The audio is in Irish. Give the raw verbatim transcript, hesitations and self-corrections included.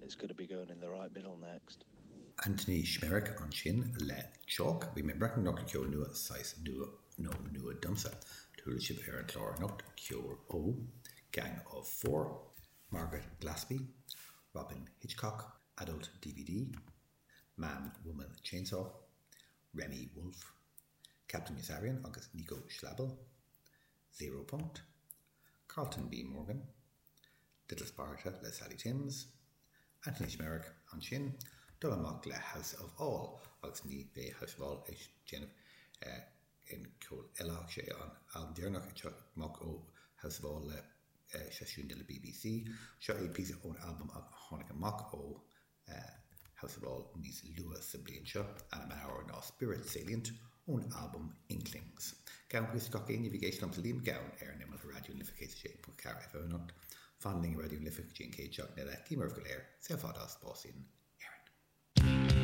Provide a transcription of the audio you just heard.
It's going to be going in the right middle next. Anthony Schmerick ansin le Chalk, bhí mé ag breathnú anocht le ceol nua, saghas nua nó nua domsa. Chuala sibh ar an chlár anocht ceol ó Gang of Four, Margaret Glaspy, Robyn Hitchcock, Adult DVD, Man Woman Chainsaw, Remi Wolf, Captain Yossarian agus Nico Schlabel, Zero Punkt, Carlton B. Morgan, Little Sparta le Sally Timms, Anthony Schmerick ansin, dul amach le House of All agus ní bheidh House of All ag déanamh aon cheol eile ach sé an albam deireanach ag teacht amach ó House of All le seisiún de le BBC. Seo é píosa ón albam a tháinig amach ó House of All níos luaithe sa bhliain seo, ainm an amhráin ná Spirit Salient ón albam Inklings. Gabhaim buíochas gach éinne a bhí ag éisteacht liomsa Liam Mac Gabhann ar an imeall ar Raidió na Life céad a sé ponc ceathair FM anocht. Fan linn ar Raidió na Life go dtí an chéad seachtain eile. Guím oraibh go léir, saol fada is bás